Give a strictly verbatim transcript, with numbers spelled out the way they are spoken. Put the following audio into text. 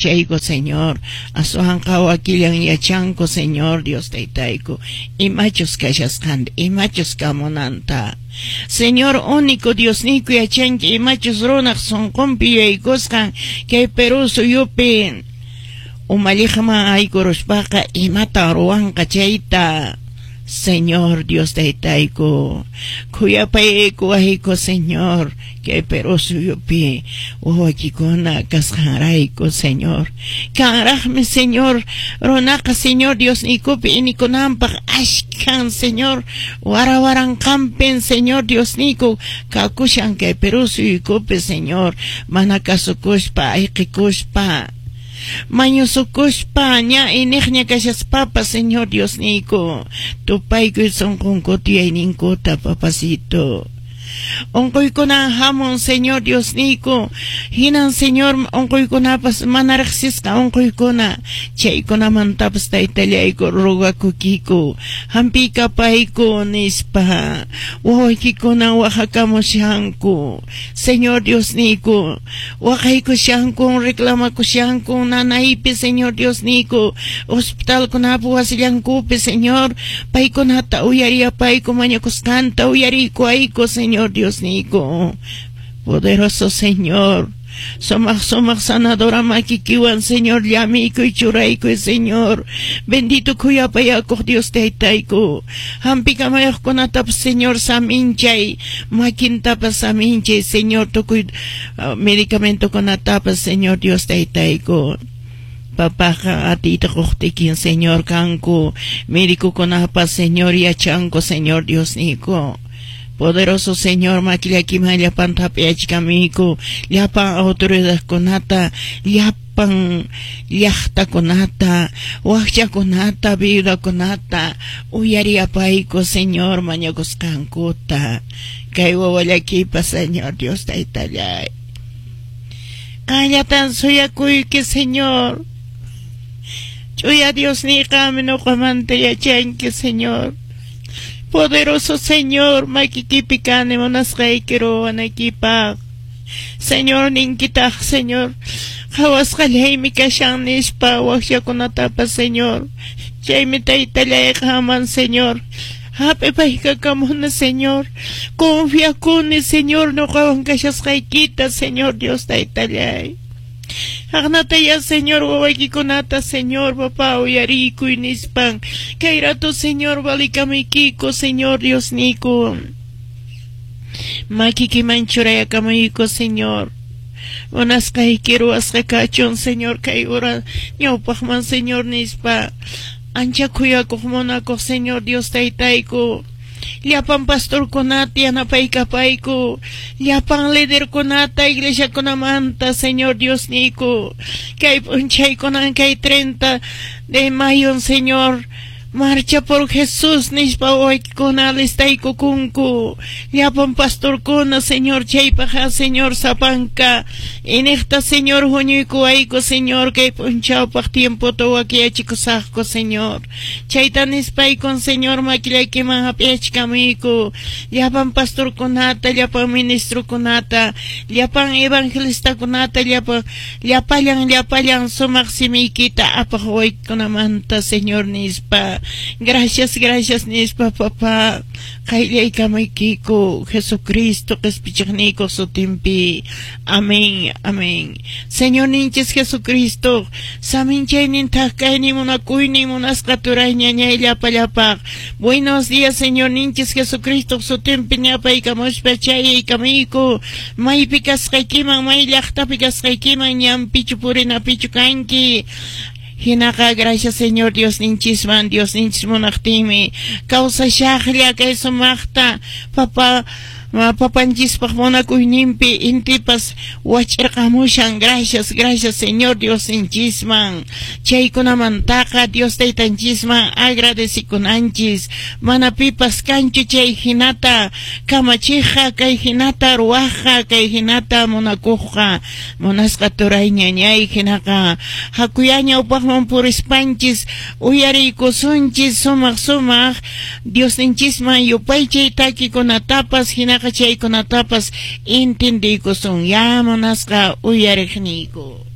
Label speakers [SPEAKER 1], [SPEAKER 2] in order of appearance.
[SPEAKER 1] Chayko, Señor, aswanqa wakillan yachanku, Señor Dios taytayku, imachus kashasqanta, imachus kamunanta. Señor único Diosniyku yachanki imachus runaq sunqunpi yuyaykusqan kay Perú suyupi umalliqman aykuruspaqa imatan ruwanqa chayta. Señor Dios taytayku, khuyapayaykuwayku, Señor, kay Perú suyupi wawaykikuna kasqanrayku, Señor. Kanraqmi, Señor, runaqa, Señor Diosniykupi inikunanpaq ashkan, Señor, wara waranqanpin, Señor Diosniyku, kakushan kay Perú suyukupi, Señor, mana kasukuspa, ayqikuspa, mañusukuspa, ña iniqña kashaspapas, Señor Diosniyku, tupaykuy sunqunkuta, yuyayninkuta, papacito. Unquykunan hamun, Señor Diosniyku, hinan, Señor, unquykunapas mana riqsisqa unquykuna, chaykunamantapas taytallayku rogakukiku, hampikapayku nispa. Wawaykikuna waqakamushanku, Señor Diosniyku, waqaykushanku, reclamakushanku nanaypi, Señor Diosniyku, hospitalkunapi, wasillankupi, Señor, paykunata uyariyapayku, mañakusqanta uyariykuayku, Señor Diosniyku. Poderoso Señor, sumaq sumaq sanadora makikiwan, Señor, llamiykuy, churaykuy, Señor. Bendito khuyapayakuq Dios taytayku. Hampikamayuqkunatapas, Señor, saminchay, makintapas saminchay, Señor, tukuy uh, medicamentokunatapas, Señor Dios taytayku. Papaqa atiyta quqtikin, Señor, kanku médicokunapas, Señor, yachanku, Señor Diosniyku. Poderoso Señor, makillakiman llapanta hap'iyachikamiku, llapan autoridadkunata, llapan llaqtakunata, wakchakunata, viudakunata, uyariyapayku, Señor, mañakusqankuta. Kay wawallakipa, Señor Dios taytallay. Qanllatan suyakuyki, Señor. Ch'uya Diosniyqami ñuqamanta yachanki, Señor. Poderoso Señor, makikipi kani munasqayki ruwanaykipaq. Señor, ninkitaq, Señor, qhawasqallaymi kashan nispa wakchakunatapas, Señor. Chaymi taytallay qamman, Señor, hap'ipaykakamuni, Señor. Confiakuni, Señor, ñuqawan kashasqaykita, Señor Dios taytallay. Aqnataya, Señor, wawaykikunata, Señor, papá, uyariykuy nispan. Kay rato, Señor, valikamuykiko, Señor Diosniyku. Makikiman churayakamuyku, Señor. Munasqayki ruwasqa kachun, Señor, kay hora ñawpaqman, Señor, nispa. Ancha khuyakuq munakuq Señor Dios taytayku. Llapan pastorkunata yanapaykapayku, llapan liderkunata iglesiakunamanta, Señor Diosniyku. Kay p'unchaykunan kay treinta de mayo, Señor, Marcha por Jesús nispa wawaykikuna alistaykukunku. Llapan pastorkuna, Señor, chaypaq, Señor, sapanka iniqta, Señor, huñuykuwayku, Señor, kay p'unchawpaq tiempota wakiyachikusaqku, Señor. Chayta nispaykun, Señor, makillaykiman hap'iyachkamuyku llapan pastorkunata, llapan ministrokunata, llapan evangelistakunata, llapan llapallan llapallan sumaq simiykita apaq wawaykikunamanta, Señor, nispa. Gracias, gracias nispa, papá. Qayllaykamaykiku Jesucristo qispichiqniykuq sutinpi. Amén, amén. Señorninchis Jesucristo, saminchaynin, thak kaynin, munakuynin munasqa turay ñañay llapallapaq. Buenos días, Señorninchis Jesucristo sutinpi ñapaykamuspa chayaykamuyku. Maypi kasqaykiman, may llaqtapi kasqaykiman, ñanpichu purinapichu kanki. Hinaqa gracias Señor Diosninchisman, Diosninchis munaqtinmi kawsashaqlla kay sumaqta, papa, papanchispaq munakuyninpi intipas wach'irqamushan. Gracias, gracias Señor Diosninchisman. Chaykunamantaqa Dios taytanchisman agradecikunanchis. Mana pipas kanchu chay hinata kamachiqqa, kay hinata ruwaqqa, kay hinata munakuqqa. Munasqa turay ñañay, hinaqa hakuya ñawpaqman purispanchis uyariykusunchis sumaq sumaq Diosninchisman yupaychay takikunatapas, hinaqa chaykunatapas entendiykusun ya munasqa uyariqniyku.